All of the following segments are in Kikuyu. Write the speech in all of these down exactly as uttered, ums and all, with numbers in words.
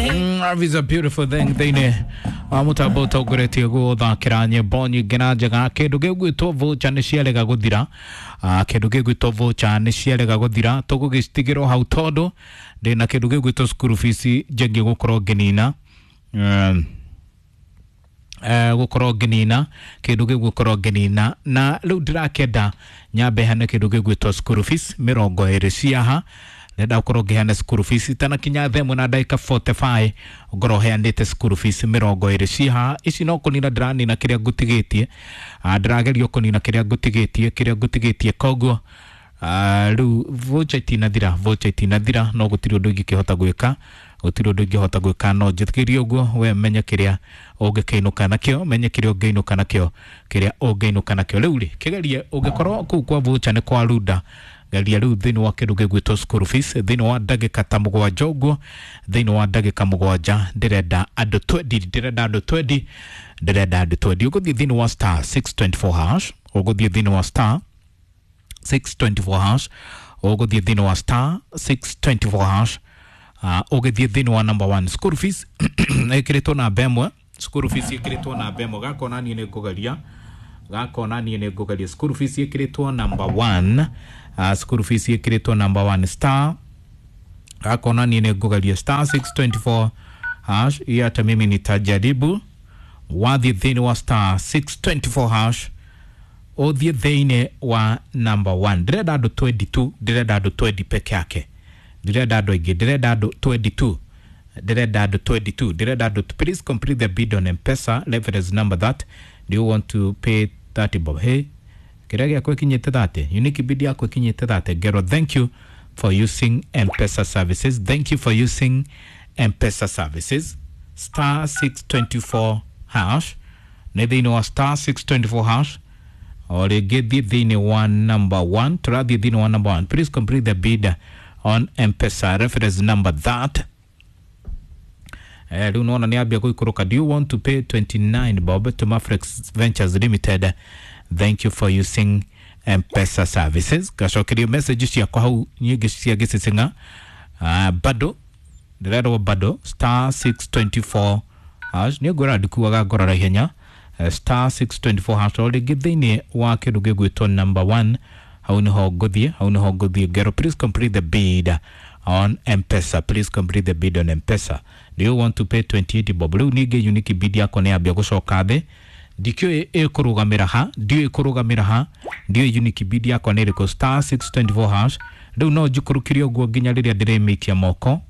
Love is a beautiful thing thĩinĩ wa mũtambo ũtongoretie gũthakĩra nyĩmbo nyingĩ na njega. Kĩndũ gĩgwĩtwo voucher nĩ ciarega gũthira. Ah, kĩndũ gĩgwĩtwo voucher nĩ ciarega gũthira, tũgũgĩcitigĩrwo hau tondũ ndĩna kĩndũ gĩgwĩtwo school fees njengĩ gũkorwo ngĩnina. um, eh, gũkorwo ngĩnina kĩndũ gĩu, gũkorwo ngĩnina, na rĩu ndĩrakĩenda nyambe hane kĩndũ gĩgwĩtwo school fees mĩrongo ĩrĩ ciaha. Ndĩrenda gũkorwo ngĩheana school fees itanakinya thaa ĩmwe na ndagĩka mĩrongo ĩna na ithano, ngorwo heanĩte school fees mĩrongo ĩrĩ ciaha. Ici no kũnina ndĩranina kĩrĩa ngũtigĩtie. Ah, ndĩrageria kũnina kĩrĩa ngũtigĩtie kĩrĩa ngũtigĩtie koguo ah, rĩu voucher itinathira, voucher itinathira, no gũtirĩ ũndũ ingĩkĩhota gwĩka, gũtirĩ ũndũ ingĩhota gwĩka, no njĩtĩkĩrie ũguo. We menye kĩrĩa ũngĩkĩinũka nakĩo, menye kĩrĩa ũngĩinũka nakĩo, kĩrĩa ũngĩinũka nakĩo. Rĩu rĩ, kĩgerie ũngĩkorwo kũu kwa voucher nĩ kwa runda, geria rĩu thĩinĩ wa kĩndũ gĩgwĩtwo school fees thĩinĩ wa ndagĩka ta mũgwanja ũguo. Thĩinĩ wa ndagĩka mũgwanja ndĩrenda andũ twenty, ndĩrenda andũ twenty, ndĩrenda andũ twenty. Ũgũthiĩ thĩinĩ wa star six two four hash, ũgũthiĩ thĩinĩ wa star six two four hash, ũgũthiĩ thĩinĩ wa star six two four hash, uh, ũgĩthiĩ thĩinĩ wa number one. School fees ĩkĩrĩtwo namba ĩmwe, school fees ĩkĩrĩtwo namba ĩmwe. Gakona niĩ nĩ ngũgeria, gakona niĩ nĩ ngũgeria. School fees ĩkĩrĩtwo number one, uh, school fees ĩkĩrĩtwo number one, star, gakona niĩ nĩ ngũgeria star six two four hash. Hiyo hata mimi nitajaribu. Wathiĩ thĩinĩ wa star six two four hash, ũthiĩ thĩinĩ wa number one. Ndĩrenda andũ twenty-two, ndĩrenda andũ twenty peke yake, ndĩrenda andũ aingĩ, ndĩrenda andũ twenty-two, ndĩrenda andũ twenty-two, ndĩrenda andũ. Please complete the bid on M-Pesa reference number that. Do you want to pay thirty bob? Hey, kĩrĩa gĩakwa ĩkinyĩte thirty, unique bid yakwa ĩkinyĩte thirty. Ngero, thank you for using M-Pesa services, thank you for using M-Pesa services. Star six two four hash, nĩ thĩinĩ wa star six two four hash. O rĩngĩ thiĩ thĩinĩ wa number one, tũrathiĩ thĩinĩ wa number one. Please complete the bid on M-Pesa reference number that. Eh, rĩu nona nĩ ambia gũikũrũka. Do you want to pay twenty-nine bob to Mafrex Ventures Limited? Thank you for using M-Pesa services. Gacokerio message ciakwa hau nyingĩ cia gĩcicinga. uh, bado ndĩrerwo bado star six two four hash. Nĩ ngwĩra ndikuaga ngorora ihenya. Eh, star six two four hash, o rĩngĩ thĩinĩ wa kĩndũ gĩgwĩtwo number one, hau nĩho ngũthiĩ, hau nĩho ngũthiĩ. Ngero, please complete the bid on M-Pesa, please complete the bid on M-Pesa. Do you want to pay twenty-eight bob? Rĩu ningĩ unique bid yakwa nĩ yambia gũcoka thĩ. Ndikĩũĩ ĩkũrũgamĩra ha, ndiũĩ ĩkũrũgamĩra ha, ndiũĩ unique bid yakwa nĩ ĩrĩkũ. Star six two four hash, rĩu no njikũrũkire ũguo nginya rĩrĩa ndĩrĩmĩikia moko.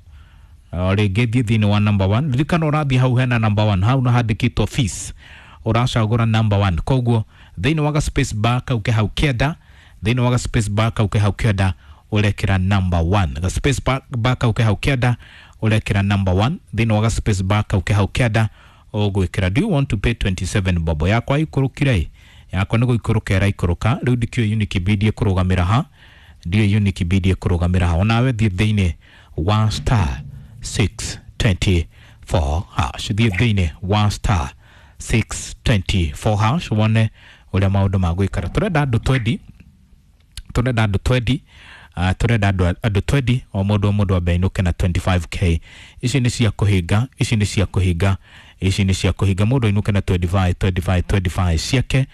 O rĩngĩ thiĩ thĩinĩ wa number one. Ririkana ũrathiĩ hau hena number one, hau na handĩkĩtwo fees, ũracagũra number one. Koguo thĩinĩ wa ga space bar kau ke hau kĩanda, thĩinĩ wa ga space bar kau ke hau kĩanda, ũrekĩra number one. Ga space bar, bar kau ke hau kĩanda, ũrekĩra number one. Thĩinĩ wa ga space bar kau ke hau kĩanda ũgwĩkĩra. Do you want to pay twenty-seven bob? Yakwa ikũrũkire ĩ, yakwa nĩ gũikũrũka ĩraikũrũka. Rĩu ndikĩũĩ unique bid ĩkũrũgamĩra ha, ndiũĩ unique bid ĩkũrũgamĩra ha. Onawe thiĩ thĩinĩ wa star six two four hash, thiĩ thĩinĩ wa star six two four hash, wone ũrĩa maũndũ magũikara. Tũrenda andũ twenty, tũrenda andũ twenty, uh, tũrenda andũ andũ twenty, o mũndũ o mũndũ ambe ainũke na twenty-five k. Ici nĩ cia kũhinga, ici nĩ cia kũhinga, ici nĩ cia kũhinga. Mũndũ ainũke na twenty-five, twenty-five, twenty-five ciake.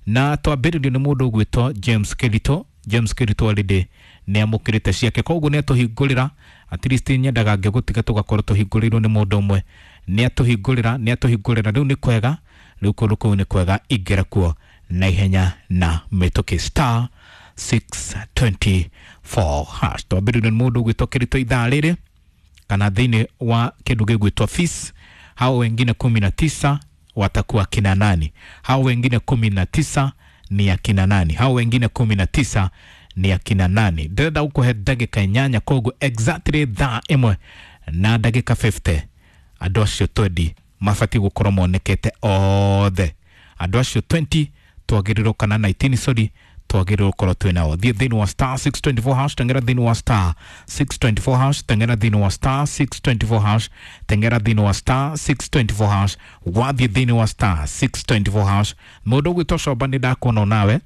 Na twambĩrĩrio nĩ mũndũ ũgwĩtwo James Kirito. James Kirito already nĩ amũkĩrĩte ciake, koguo nĩ atũhingũrĩra. At least nyendaga ngĩgũtiga tũgakorwo tũhingũrĩirwo nĩ mũndũ ũmwe. Nĩ atũhingũrĩra, nĩ atũhingũrĩra. Rĩu nĩ kwega, rĩu kũndũ kũu nĩ kwega, ingĩra kuo na ihenya na mĩtũkĩ, star six two four hash. Twambĩrĩrio nĩ mũndũ ũgwĩtwo Kirito ithaa rĩrĩ kana thĩinĩ wa kĩndũ gĩgwĩtwo fees. Hao wengine kumi na tisa watakuwa kina nani? Hao wengine kumi na tisa ni akina nani? Hao wengine kumi na tisa ni akina nani? Ndĩrenda gũkũhe ndagĩka inyanya, koguo exactly thaa ĩmwe na ndagĩka mĩrongo ĩna, andũ acio twenty mabatiĩ gũkorwo monekete othe. Andũ acio twenty twagĩrĩirwo, kana nineteen, sorry, twagĩrĩirwo gũkorwo twĩ nao. Thiĩ thĩinĩ wa star six two four hash, teng'era thĩinĩ wa star six two four hash, teng'era thĩinĩ wa star six two four hash, teng'era thĩinĩ wa star six two four hash. Wathiĩ thĩinĩ wa star six two four hash, mũndũ ũgwĩtwo Coba, nĩ ndakuona nawe.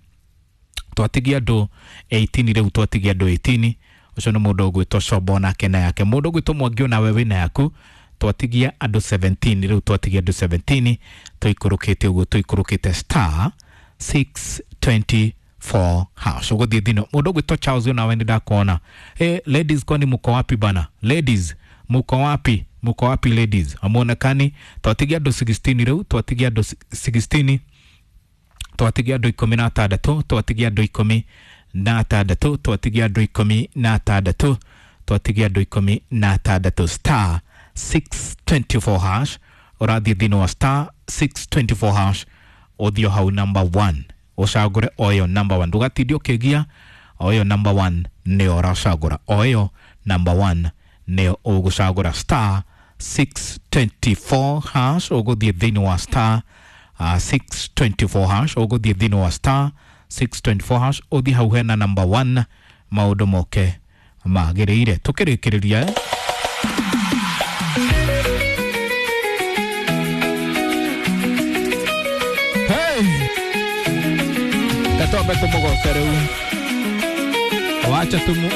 Twatigia andũ eighteen, rĩu twatigia andũ eighteen. Ũcio nĩ mũndũ ũgwĩtwo Coba, onake na yake. Mũndũ ũgwĩtwo Mwangi, onawe wĩna yaku. Twatigia andũ seventeen rĩu, twatigia andũ seventeen, tũikũrũkĩte ũguo, tũikũrũkĩte star six twenty-four hash. Ũgũthiĩ thino mũndũ ũgwĩtwo Charles, nawe nĩ ndakuona. Hey, ladies, kwani mko wapi bana? Ladies, muko wapi? Muko wapi ladies? Amuonekani. Twatigia andũ sixteen rĩu, twatigia andũ sixteen, twatigia andũ ikũmi na atandatũ, twatigia andũ ikũmi na atandatũ, twatigia andũ ikũmi na atandatũ, twatigia andũ ikũmi na atandatũ. Star six twenty-four hash, ũrathiĩ thĩinĩ wa star six twenty-four hash, ũthiĩ hau number one, ũcagũre o ĩyo number one, ndũgatinde ũkĩgia. O ĩyo number one nĩyo ũracagũra, o ĩyo number one nĩyo ũgũcagũra. Star six twenty-four hash, ũgũthiĩ thĩinĩ wa star uh, six twenty-four hash, ũgũthiĩ thĩinĩ wa star six twenty-four hash, ũthiĩ hau hena number one, maũndũ moke magĩrĩire. Tũkĩrĩkĩrĩria, eh? Hey! Katwambe tũmũgoce rĩu, wacha tumu,